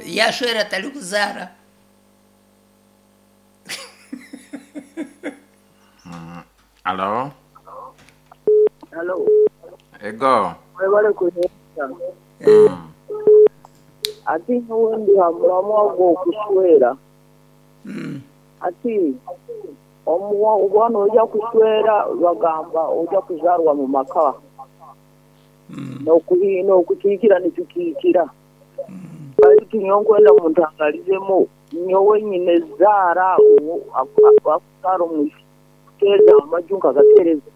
Yaashwera atarikuzaara. Halo. Halo. Ego. Mwebale kuheereza. Ati nyowe ndi ha muramwa gw'okushwera. Ati obu noija kushwera bagamba oija kuzaarwa mu maka. N'okukiikira nitukiikira. Baitu nyowe nkwenda muntangarizemu nyowe nyine zaara akuzaara omwishiki kuteeza amaju nkagateereza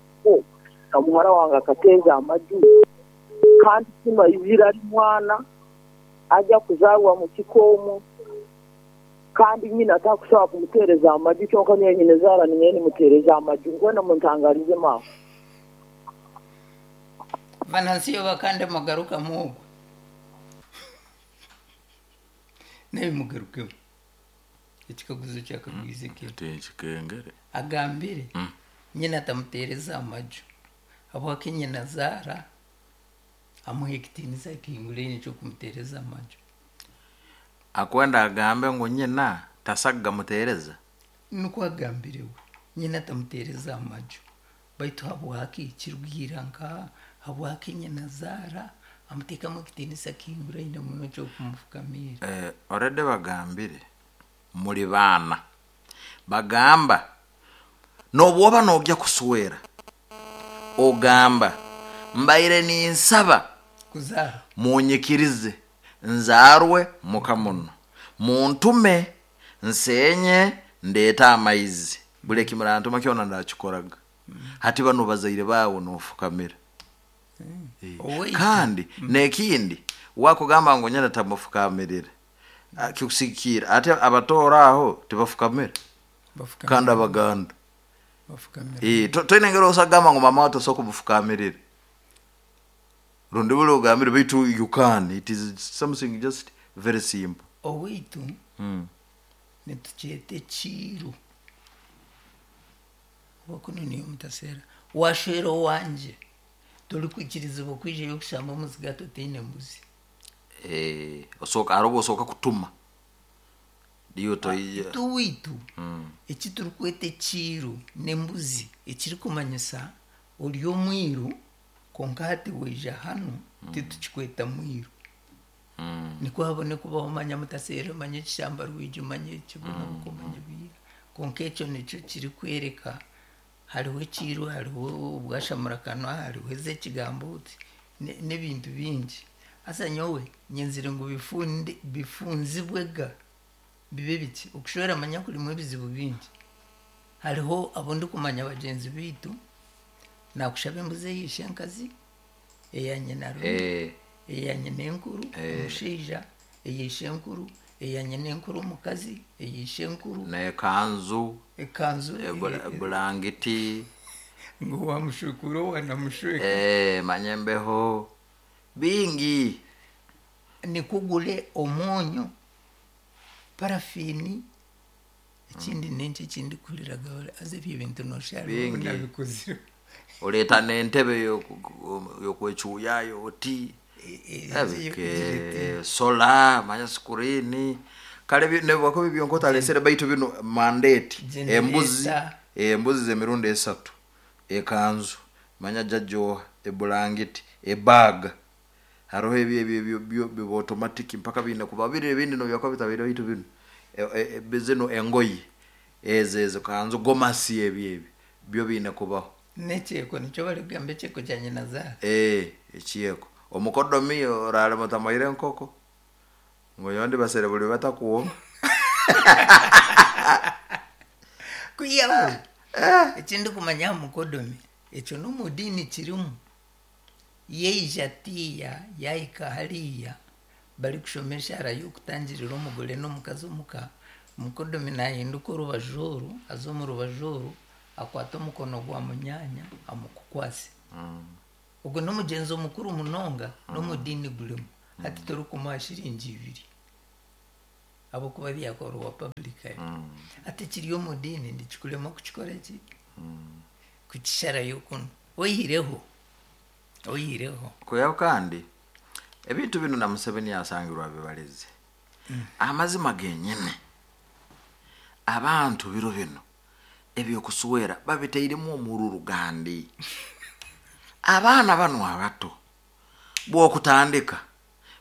na muhara wange akateeza amaju kandi kinu aizire ari mwana aja kuzaarwa mu kika omwo kandi nyina atakusobola kumuteereza amaju kyonka nyowe nyine zaara ninyowe nimuteereza amaju nkwenda muntangarizemu aho. Venansiyo bakande mugarukamu ogwo. Nawe mugarukemu. Ekikaguzo kyakagwize ki? Tinkikengere. Agambire nyina atamuteereza amaju habwaki nyina azaara amuha ekitiinisa ekihinguraine eky'okumuteereza amaju. Akwenda agambe ngu nyina tasaga muteereza. Nikwo agambire we. Nyina atamuteereza amaju. Baitu habwaki kirugirira nka habwaki nyina azaara amuteekamu ekitiinisa kihinguraine muno eky'okumufukamiira. Eh, already bagambire muri baana. Bagamba n'obwoba nogya kuswera ogamba mbaire ninsaba Kuzaara. munyikirize nzaarwe muka muno muntume nsenye ndeete amaizi buli ekimurantuma kyona ndakikoraga. Hati banu bazaire baawe nofukamira. Owaitu. Kandi n'ekindi wakugamba ngu nyina tamufukamirira kikusikiira ate abatooro aho tibafukamira Bafukamira. kandi abaganda. Bafukamira. Toine engeri osagamba ngu mama wawe tosobola kumufukamirira rundi buli ogambire baitu you can, it is something just very simple. Owaitu nitukyeta ekiiru. Oba kunu niyo mutaseera. Waashwera owangye torikwikirizibwa kwijayo kushamba omuzigaati otaine mbuzi. Eh, osooka hariho obu osooka kutuma riyo toija. Itwe owaitu eki turikweta ekiiru n'embuzi ekirikumanyisa ori omwiru kwonka hati waija hanu titukikweta mwiru. Nikwo habone kubaho omanya mutaseera omanye ekishamba rwigi omanye ekibonabuka omanye biiha. Kwonka ekyo nikyo kirikwereka hariho ekiiru hariho obwashamurakanwa hariho ez'ekigambo oti n'ebintu bingi. Haza nyowe nyenzire ngu bifunzibwe ga bibe biki. Okushwera manya kurimu ebizibu bingi. Hariho abu ndikumanya bagyenzi baitu naakushaba embuzi eya ishenkazi, eya nyinarume, eya nyinenkuru omushaija, eya ishenkuru, eya nyinenkuru omukazi, eya ishenkuru. N'ekanzu, Ekanzu. Bulangiti. Ngu wamushukura owanamushweka. Manya embeho bingi. Nikwo ogure omwonyo, parafiini, ekindi n'enki ekindikuhurira haza ebyo ebintu nooshusha hariho obu nabikozire. Oreeta n'entebe y'okwecuuyayo oti sola manya sikuriini kare nibwakuba byonka otareesire baitu binu mandate embuzi embuzi z'emirundi esatu ekanzu manya jajja oha ebulangiti ebaaga hariho ebyo ebyo ebyo biba automatic mpaka biine kuba biri ebindi nobyakuba bitabaire baitu binu zinu engoye ezo ezo kanzu gomasi ebyo ebyo byo biine kubaho. N'ekyeko nikyo barikugamba ekyeko kya nyinazaara. Ekyeko. Omukodomi oraare mutamuhaire enkoko ngu nyowe ndibasere buri batakuwoma. Kwihaho eki ndikumanya aha mukodomi ekyo n'omu diini kirimu. Yaija atiiya yaahika hariya barikushoma eshaara y'okutangirira omugore n'omukazi omuka, omukodomi naahinduka orubaju oru aza omu rubaju oru akwata omukono gwa munyaanya amukukwase. Ogwo n'omugyenzo mukuru munonga n'omu diini gurimu. Hati torikumuha shiringi ibiri. Ahabw'okuba byakorwa publicly. Hati ekiri omu diini nikikurema kukikora ki? Kukisharayo kunu. Oihireho, oihireho. Kwihaho kandi ebintu binu na Museveni asangirwe abibareze. Amazima genyine abantu biro binu ebyokuswera babiteiremu omururu gandi. Abaana banu abato bwokutandika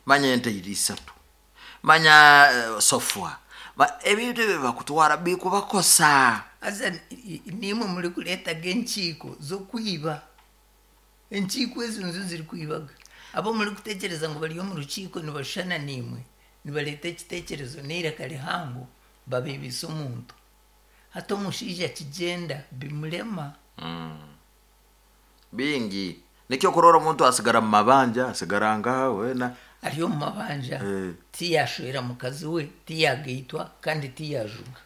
manya ente iri isatu manya sofwa ebintu ebyo bakutwara bikubakosa. Haza nimwe murikureetaga enkiiko z'okwiba. Enkiiko ezo nizo zirikwibaga. Abu murikutekyereza ngu bari omu rukiiko nibashushana naimwe, nibareeta ekiteekyerezo n'eiraka rihango babiibisa omuntu. Hati omushaija akigyenda bimurema. Bingi. Nikyo okurora omuntu asigara mu mabanja, asigara nkaha weena. Ari omu mabanja, tiyashwera mukazi we, tiyagaitwa kandi tiyajuga.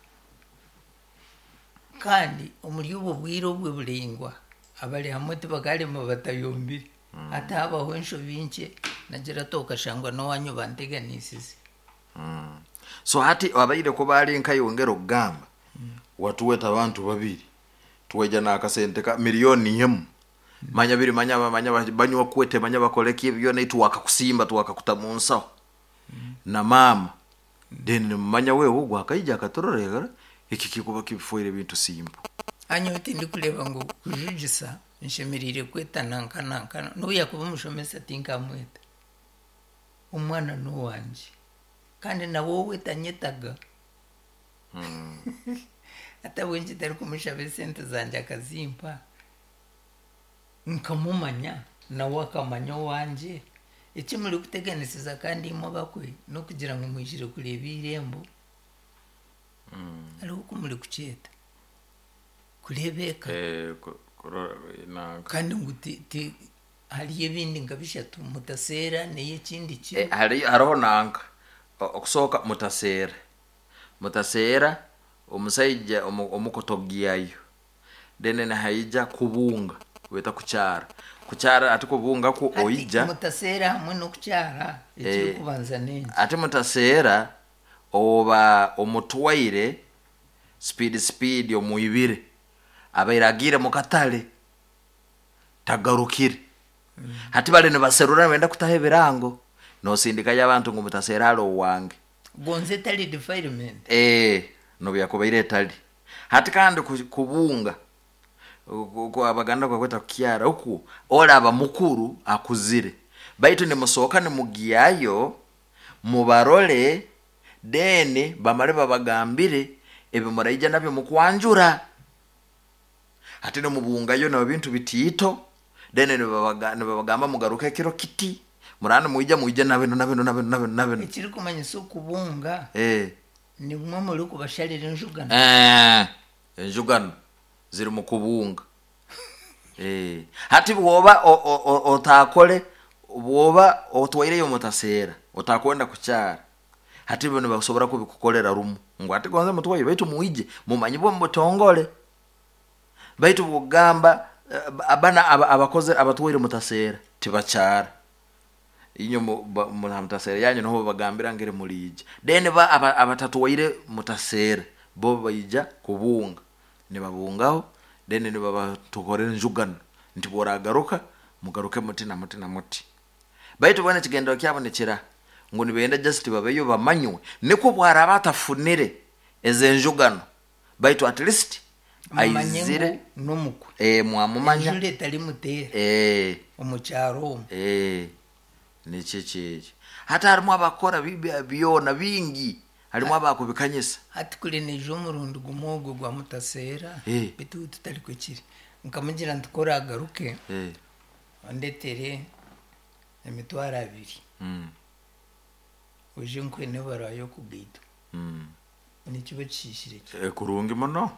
Kandi omuri obwo bwire obwe buraingwa, abari hamwe tibakarema batayombire. Hati habaho enshobi nkye, nagira ati okashangwa n'owanyu banteganisize. So hati abaire kuba ari nkaiwe ngera okugamba, watuweta abantu babiri, twaija n'akasente ka miliyoni emu, manya biri manya manya banywa kwete manya bakore ki byona itwe wakakusimba twakakuta mu nsaho na maama, then nimumanya wewe ogu akaija akaturorera eki kikuba kibifoire ebintu simple. Nyowe tindikureeba ngu kujugisa nshemereire kweta nanka nanka, n'obu yaakuba omushomesa tinkamweta. Omwana n'owangye kandi nawe owe tanyetaga. Hati ahabw'enki ntarikumushaba esente zangye akazimpa nkamumanya nawe akamanya owangye? Eki murikuteganisiza kandi imwe abakwe n'okugira ngu mwijire kureeba eirembo. Hariho oku murikukyeta kureeba eka. Kandi ngu hariyo ebindi nka bishatu mutaseera neyo ekindi kiro. Hariho nanka okusooka mutaseera. Mutaseera omusaija omukotogiayo then nihaija kubunga beeta kukyara. Kukyara hati kubunga kwo Hati oija. mutaseera hamwe n'okukyara ekirikubanza n'enki? Hati mutaseera oba omutwaire speed speed omwibire abaire agiire mukatare tagarukire. Hati bari nibaserura nibenda kutaho ebirango nosindikayo abantu ngu mutaseera ari owange. Gonza etari defilement. Ee, nobu yakubaire etari. Hati kandi kubunga, Abaganda bakweta kukyara, okwo oraba mukuru akuzire. Baitu nimusooka nimugyayo mubarore, then bamare babagambire ebi muraija nabyo mukwanjura. Hati nimubungayo nebintu bitiito, then nibabagamba mugaruke ekiro kiti, muraba nimwija mwije na binu na binu na binu na binu na binu. Ekirikumanyisa okubunga nimwe murikubasharira enjugano. Enjugano ziri mu kubunga. Hati bwoba otaakore, bwoba otwaireyo mutaseera, otakwenda kukyara, hati bo nibasobora kubikukorera rumu ngu hati gonza mutwaire baitu mwije mumanyibwe omu butongore. Baitu bwokugamba banu abakoze abatwaire mutaseera tibakyara. Inywe mutaseera yanyu niho babagambira ngeri muriija. Then bo abatatwaire mutaseera bo baija kubunga. Nibabungaho then nibabatukorera enjugano nti bworagaruka mugaruke muti na muti na muti. Baitu boona ekigendererwa kyabo nikira ngu nibenda just babeyo bamanywe nikwo bwaraba atafunire ezo enjugano baitu at least Mumanye aizire ngu n'omukwe. Mwamumanya. Enjura etarimuteera omu kyaro omu. Nikyo ekyo. Hati harimu abakora byona bingi, harimu abakubikanyisa. Hati kuri naija omurundi gumwe ogwo gwa mutaseera, beitu tutari kiri. Nkamugira nti ku oragaruke ondetere emitwaro abiri, oije nkuhe n'ebaruha y'okugaitwa. Nikiba kishiishire ki? Kurungi muno.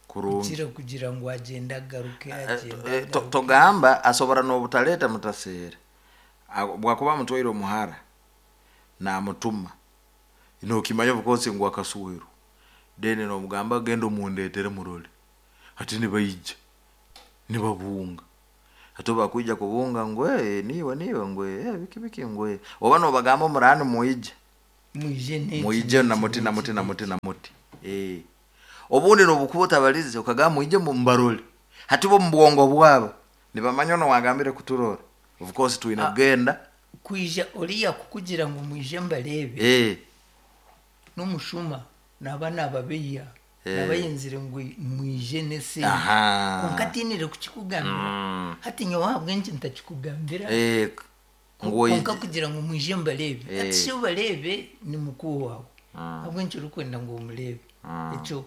Kurungi. Kukira kugira ngu agyende agaruke, agyende agaruke. Togamba asobora n'obutareta mutaseera. Bwakuba amutwaire omuhara namutuma, nokimanya of course ngu akaswerwa, then nomugamba genda omundetere murore. Hati nibaija, nibabunga. Hati obu bakwija kubunga ngu niiwe niiwe ngu biki biki ngu oba nobagamba omuraba nimwija. Mwije n'eki, Mwije na n'eki, muti na n'eki, muti na n'eki. muti na muti. Obundi nobukuba otabarize okagamba mwije mbarole, hati bo mu bwongo bwabo nibamanya ono wagambire kuturora, of course twine kugenda. Kwija oriya kukugira ngu mwije mbarebe, n'omushuma naba nababeya, naba yenzire ngu mwije n'esente, kwonka atiinire kukikugambira. Hati nyowe ahabw'enki ntakikugambira? Ngu Kwonka kugira ngu mwije mbarebe, hati shi obarebe ni mukuru waawe, ahabw'enki orikwenda ngu omureebe? Ekyo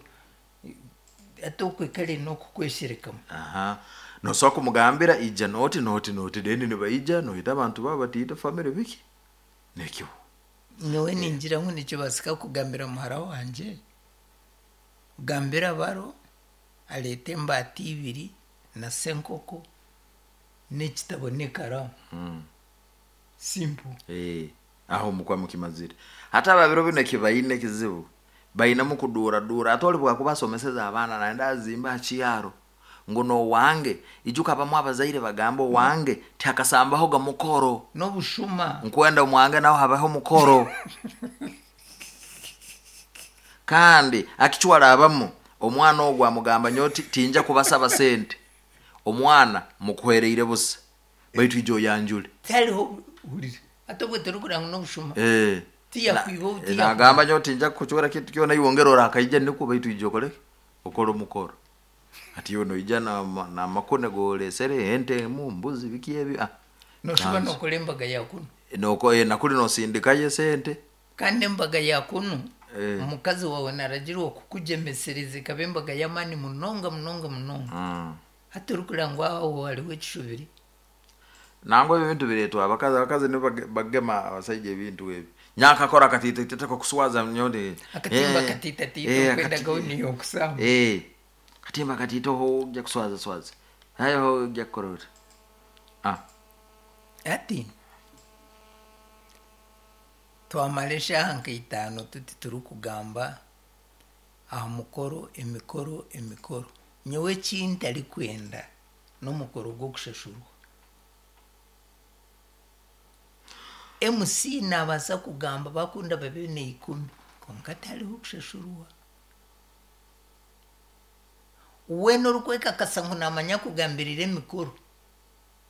ate okwe kare n'okukwesherekamu. Aha, nosobola kumugambira ija noti noti noti, then nibaija noyita abantu babo batiita family biki nekyo. Nyowe ningira ngu nikibaasika kugambira muhara wangye, gambira baro areete embaata ibiri na senkoko n'ekitabo n'ekaraamu. Simple. Aho mukwa mukimazire. Hata ababiro bino ekibaine ekizibu bainemu kuduuradura, ate ori bwakuba asomeseza abaana naenda azimba aha kiyaro ngu nowange, ijuka bamwe abazaire bagamba owange tihakasambahoga mukoro. N'obushuma. Nkwenda omwange naho habaho omukoro, kandi akicwara abamu omwana ogwo amugamba nyowe tinja kubasaba sente, omwana mukuhereire busa, baitu ijo oyanjure. Tihariho, hurira, ate obwe torikugira ngu n'obushuma? Tiyakwiba obu, tiyakwiba. Nagamba nyowe tinja kukucwera kintu kyona, iwe ongera orakaija nikwo, baitu ija okoreki, okore omukoro. Ati iwe noija namakune goresere ente emu, mbuzi, biki ebi, ah. Noshuba Kanzu. nokora embaga ya kunu. Noko nakuri nosindikayo esente. Kandi embaga ya kunu, omukazi wawe naragirwa kukugyemesereza ekaba embaga y'amaani munonga munonga munonga. Hati orikureba ngu aho hariho ekishubiri. Nangwa ebi bintu biretwa abakazi, abakazi nibo bagema abasaija ebintu ebi. Nyakakora akatiita kokuswaza nyowe. Akatimba akatiitatiita okwendagaho niyo okusamba. Katimba akatiita oho ojja kuswaza swaza, hayo ho ojja kukora oti, ah. Hati twamara eshaaha nka itaano tuti turikugamba aha mukoro, emikoro, emikoro. Nyowe eki ntarikwenda n'omukoro gw'okushashurwa. MC naabaasa kugamba bakunda babe 10, kwonka tihariho kushashurwa. Weena orikwekakasa ngu naamanya kugambirira emikoro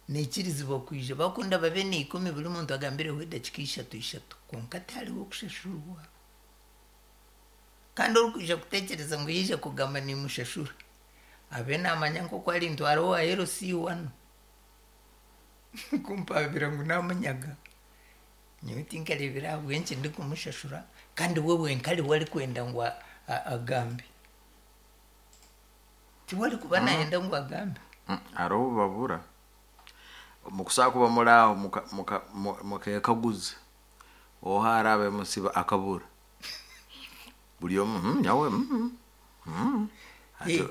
naikirizibwa kwija, bakunda babe 10, buri muntu agambireho edakiika ishatu ishatu, kwonka tihariho kushashurwa. Kandi orikwija kutekyereza ngu yaija kugamba nimushashura, abe naamanya nk'oku arintwara owa LC wanu kumpabira ngu namunyaga. Nyowe tinkareebire ahabw'enki ndikumushashura, kandi we wenka ariwe arikwenda ngu agambe. Tiwe arikuba nayenda ngu agambe. Hariho obu babura mukusobola kuba muri aho mukekaguza oha araabe musiba akabura, buri omwe, nyawe, Hati,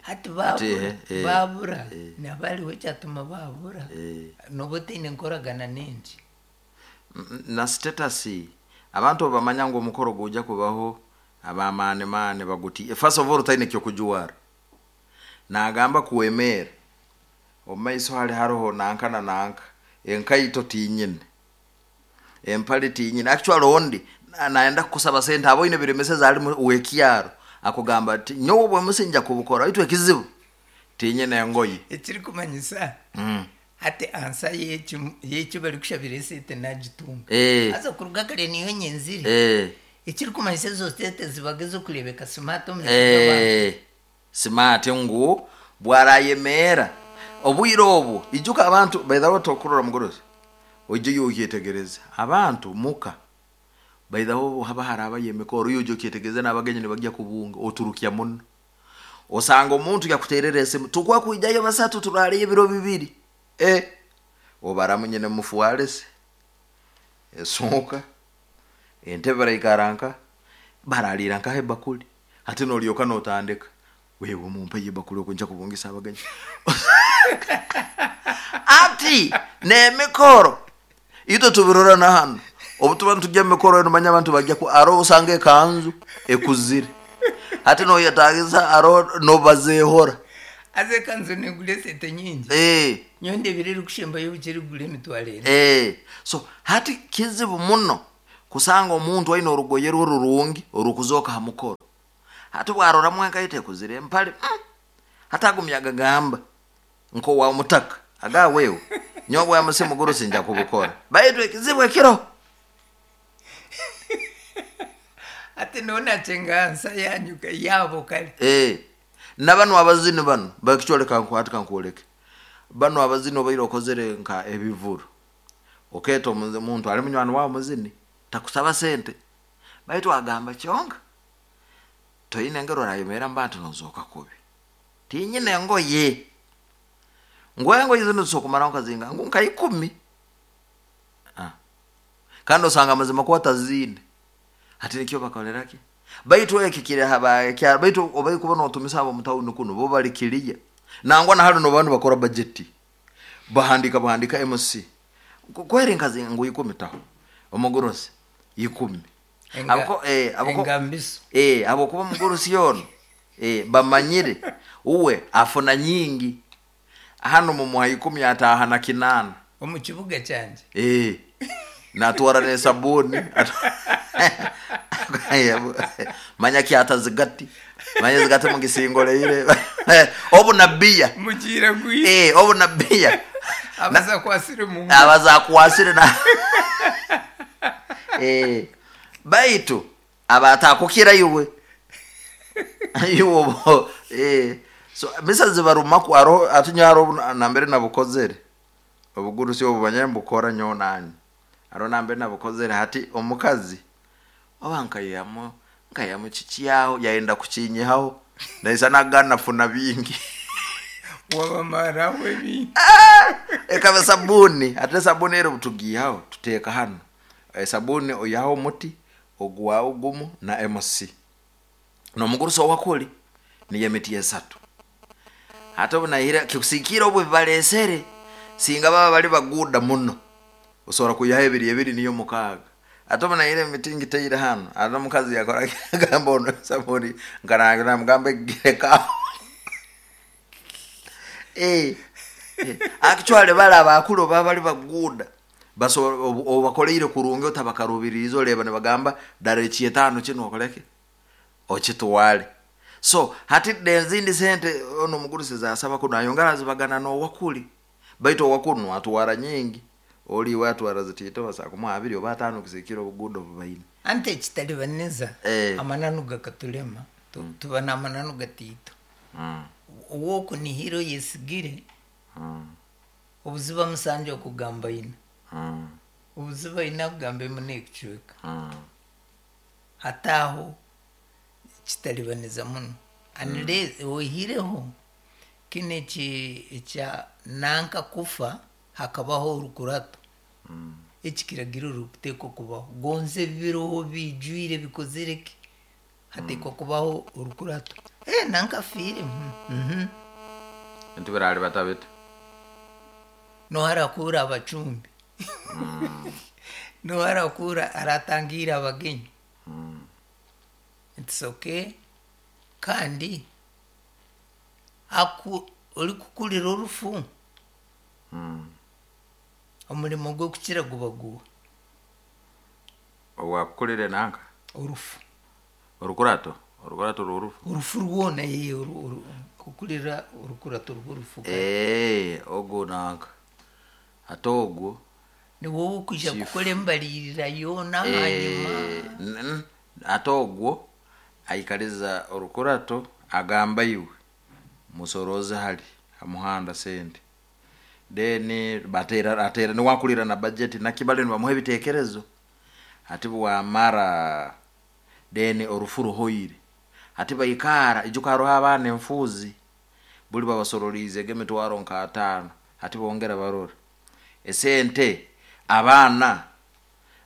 Hati hati, babura, babura, naba hariho ekyatuma babura, noba otaine nkoragana n'enki. Na status, abantu obu bamanya ngu omukoro guja kubaho abamaani maani baguti, first of all otaine kyokujwara, nagamba kuwemeera omu maiso hari hariho nanka na nanka, enkaito tinyine, empare tinyine. Actually ondi nayenda kukusaba sente, aboine biremeseza ali wekyaro akugamba ati nyowe obwemusi nja kubukora, baitu ekizibu tinyine engoye. Ekirikumanyisa hati ansa y'eki barikushabira esente nagitunga. Haza kuruga kare niyo nyenzire. Ekirikumanyisa ezo sente zibaga ez'okureebeka smart omu maisho g'abantu. Smart ngu bwarayemeera obwire obu, ijuka abantu baithaho tokurora mugorozi, oije yokyetegereza abantu muka baithaho haba harabayo emikoro, yoija okyetegereza n'abagenyi nibajya kubunga, oturukya muno osanga omuntu yakuterera esimu, tukwa kwijayo basatu turaleyo ebiro 2, obaramu nyine mufuarese esuuka entebe baraikara nka baralira nkaho ebakuli. Hati nolyoka notandika, wewe mumpe ebakuli oku nja kubungisa abagenyi. Ati n'emikoro itwe tubirora na hanu obu tuba nitujya mu mikoro eno, manya abantu bajya ku aro osanga ekanzu ekuzire, hati noyetagisa aro nobazehora. Haza ekanzu negura esente nyingi. Nyowe ndebire erikushembayo obukye erikugura 4,000. So hati kizibu muno. Kusanga omuntu aine orugoye rwe rurungi orukuzooka ha mukoro. Hati bwaroramu enkaito ekuzire empale, hati agumya agagamba nk'owa omutaka aga wewe nyowe bwa musi mugurusi nja kubukora. Baitu ekizibu ekiro. Hati nonakye nsa yanyu yaabo kare. Eh, na banu abazini banu bakikyoleka nku hati kankwoleke. Banu abazini obaire okozere nka ebivuru. Okeeta omuntu ali munywani wawe muzini takusaba sente. Baitu agamba kyonka toine engeri orayemerra mu bantu nozooka kubi. Tinyine engoye. Ngu engoye zinu zisobora kumaraho nka zinga ngu nka ikumi. Ah. Kandi osanga amazima kuba ataziine. Hati nikyo bakolera ki? Baitu eki kiri haba kya baitu obai kuba notumisa abo mutawuni kunu bo bali kiriya. Nangwa na hali no bantu bakora budget. Bahandika bahandika MC. Kweri nkazi ngu ikumi taho. Omugurusi ikumi. Abako abako Engambiso. Abokuba omugurusi ono bamanyire uwe afuna nyingi. Hano mumuha ikumi ataha na 8. Omu kibuga kyangye. Natwara n'esabuni. Manya kyata zigati. Manya zigati mugisingoleire. Obu nabiya. Mugira gwi. Obu nabiya. Abaza kwasire mu. Abaza kwasire na. Baitu abatakukira iwe. Iwe so misa zibarumaku aro atunyaro nambere nabukozere. Obugurusi obu banyambukora nyo nani. Aro nambere nabukozere hati omukazi oba nkayamo nkayamo chichiaho yaenda kuchinyihaho naisa nagana funa bingi. Wabamara webi. Ekaba sabuni ate sabuni ero butugihaho tuteka hano. Sabuni oyaho muti ogwa ogumu na MC. No mugurusi wakuli ni yemiti esatu. Hata obunahira kikusikira obu bibalesere singa baba bali baguda muno. Usobora kuyaha ebiri ebiri niyo mukaaga. Ate obunahira emiti ngiteire hano. Ate omukazi yakora gamba ono sabuni nkarangira mugamba gireka. Actually bala abakulu baba bali baguda. Baso obakoleire kurungi otabakarubirizo leba ne bagamba dare chietano chino okoleke. Ochitwale. So hati denzindi sente ono mugurusi zasaba kuno ayongera zibagana no wakuli. Baitu wakunu atwara nyingi. Oli watu arazitito basakumwa abiri oba atano kisikiro obugudo bubaine. Ante kitalibaneza amananu gakatulema tuba n'amananu gatito. Owoku ni hiro yesigire. Obuziba musanje okugamba ina. Obuziba ina kugamba emune ekucweka. Hataho kitalibaneza muno. Unless oihireho kino ekya nanka kufa hakabaho orukurato. Ekikiragiro rukuteekwa kubaho. Gonze biroho bijwire bikozere ki? Hateekwa kubaho orukurato. Nanka afiire. Ntibirali batabita. Noharakura abacumbi. Noharakura aratangira abagenyi. It's okay. Kandi aku ori kukurira orufu. Omurimo gw'okukira guba guwa. Owakukurire nanka? Orufu. Orukurato? Orukurato rw'orufu? Orufu rwona kukurira orukurato rw'orufu. Ogwo nanka. Ate ogwo. Ni wowe okuija kukora embalirira yoona hanyuma. Ate ogwo aikariza orukurato agamba iwe musoroze hali amuhanda sente. Then batera atera ni wakulira na budget na kibale ni bamuhe bitekerezo. Ati bwamara then orufuru hoire. Ati bayikara ijuka roha abana emfuzi. Buli babasororize gemitwaro nka atano. Ati bongera barora. Esente abana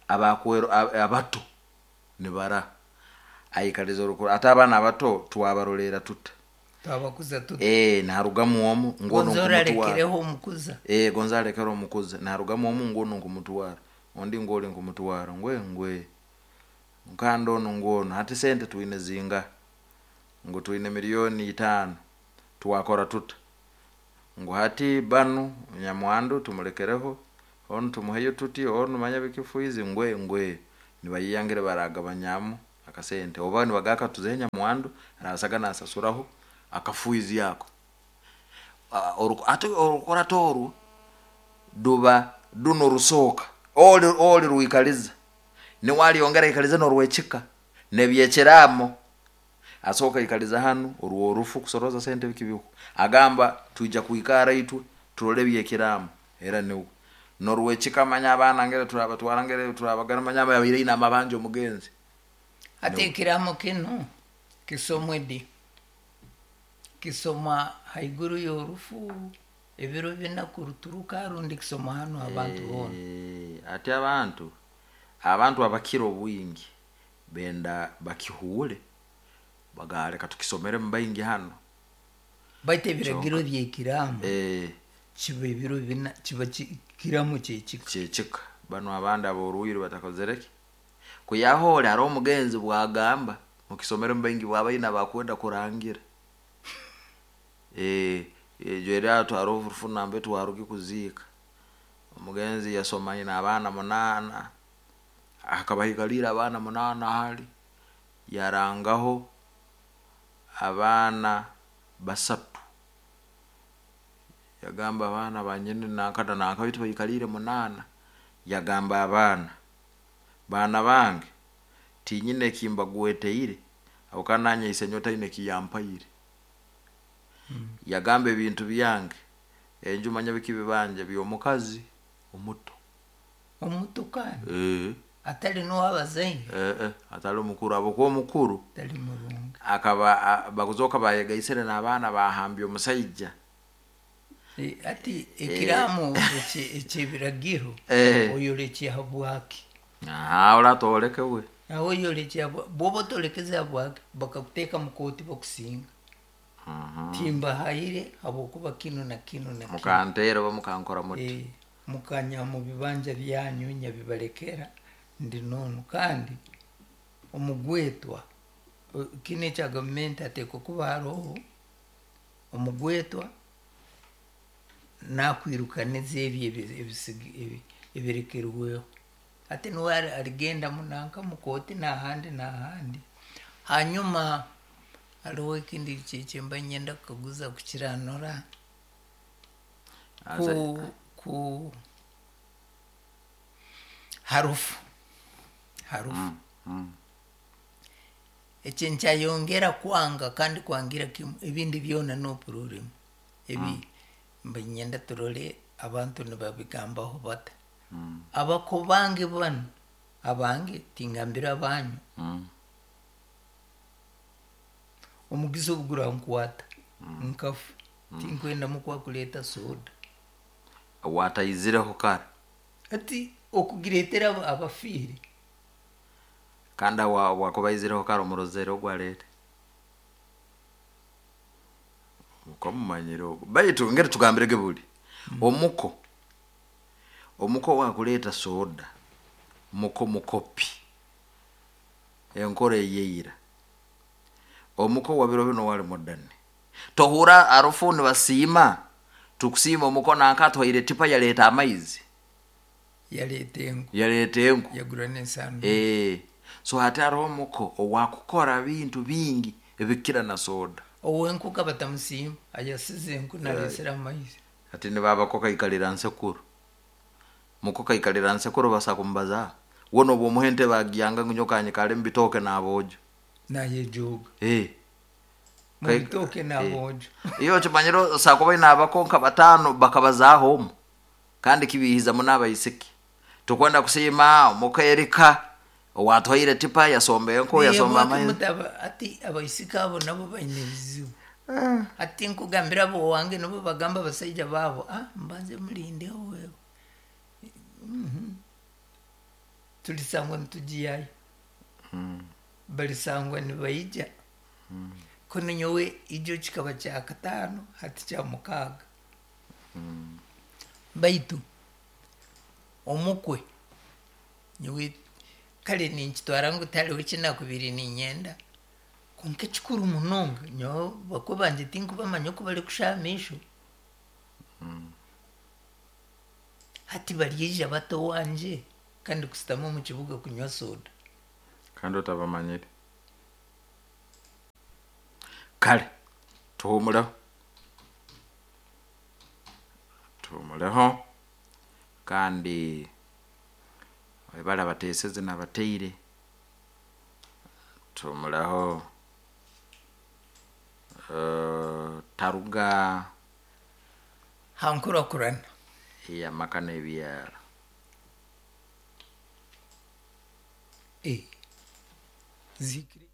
abakwero abato nibara aikariza orukuru ati abana abato twabarolera tuta. Twabakuza tuta. Narugamu omu ngono Gonzora arekereho omukuza. Gonza arekere omukuza. Narugamu omu ngono nkumutwara. Ondi ngoli nkumutwara. Ngwe ngwe. Nkando ono ngono. Hati sente tuine zinga. Ngo tuine milioni 5. Twakora tuta. Ngo hati banu nyamwandu tumulekereho. Ono tumuheyo tuti ono manya bikifuizi ngwe ngwe. Nibayeya baragabanyamu akasente oba nibagaka tuzehe nyamwandu arasaga nasasuraho akafuizi ako. Ate orukurato oru duba duno rusooka oli oli rwikaliza niwaliongera ikaliza norwekika nebyekiramo asooka ikaliza hanu orwo orufu kusoroza sente bikibiku agamba tuija kuikara itwe turole byekiramo era niwe norwekika manya abaana ngere turabatwara ngere turabagana manya abaire ina amabanja omugenzi. Ate ekiramo kinu kisomwe di kisoma haiguru y'orufu ebiro bina kuruturuka rundi kisoma hanu abantu boona. Ate abantu abakira obwingi benda bakihuule bagaleka tukisomere mubaingi hano. Baitu ebiragiro byekiramo kiba ebiro bina kiba kiramo kyekika. Kyekika bano abandi aboruhire batakozereki kuyahole hariho omugenzi bwagamba mukisomere mubaingi bwabaina bakwenda kurangira. Ejo era twaro rufuna mbe twaruki kuziika omugenzi yasoma ina abaana 8 akabahikalira abaana 8 hali yarangaho abaana 3 yagamba abaana banyene nankada nankabitu bayikalire 8 yagamba abaana bana bange tinyine kimba gweteire abukananya isenyota ine kiyampaire. Yagamba ebintu byange enju manya bikibibanje byomukazi omuto omuto kandi atali n'owabazaire atali omukuru abo omukuru atali murungi akaba bakuzoka bayegaisire n'abaana bahambye omusaija. Ati ekiramo ekyebiragiro oyolekye habwaki oratoleke we aho oyolekye bwoba otolekeze habwaki bakakuteeka mukoti bakusinga. Timbahayire habwokuba kino na kino na kino mukantera oba mukankora muti mukanya mu bibanja byanyu nyabibalekera ndi nono. Kandi omugwetwa kino ekya gavumenti ateekwa kuba hariho omugwetwa nakwirukaniza ebyo ebirekerweho ate niwe aligenda munanka mukoti n'ahandi n'ahandi. Hanyuma hariho ekindi kyemba nyenda kukaguza kukiranura ku harufu ekyo nkyayongera kwanga kandi kwangira kimu ebindi byona n'opururimu ebi mba nyenda turole abantu nibabigambaho bata. Abako bange bano abange tingambira abanyu omugizi obugura nkwata nkafu tinkwenda mukwakuleta soda wataizireho kare ati okugiretera abafiire kandi wakubaizireho kare omurozere ogwarete okamumanyire ogwo baitu ngeri tugambirege buli omuko wakuleta soda muko mukopi enkora eyeira omuko wabiro bino wali modani tohura arufu nibasiima tukusiima omuko nanka atwaire tipa yaleta amaizi yaleta enku yagura n'ensano. So hati hariho omuko owakukora bintu bingi ebikira na soda owenku kabatamusiima ayasize enku nalesera amaizi ati nibabako kaikalira nsekuru muko kaikalira nsekuru basakumbaza wono bwomuhente bagyanga ngunyokanye kale mbitoke n'abojo nayejoga mubitoke n'abojo iyo kimanyiro sakuba inabakonka 5 bakabazaho omu kandi kibihiza munabayisiki tukwenda kusima omuko Erika owatwaire tipa yasomba enko yasomba amaizi ati abayisiki abo nabo baine ebizibu. Ati nkugambira abo wange nabo bagamba abasaija babo mbanze mulindeho wewe tulisangwa nitugiyayo balisangwa nibaija kuno nyowe ijo kikaba kya 5 hati kya 6. Baitu omukwe nyowe kale ninkitwara ngu taliho kinakubiri ninyenda konka ekikuru munonga nyowe bakwe banje tinkubamanya oku bari kushamisho hati baryeija bato wanje kandi kusitama omu kibuga kunywa soda. Kandi otabamanyire. Kare tuhumureho, tuhumureho kandi webare abateeseze n'abateire. Tuhumureho taruga Ha nkurakurana ey'amaka n'ebyaro. Eh. Zikiri.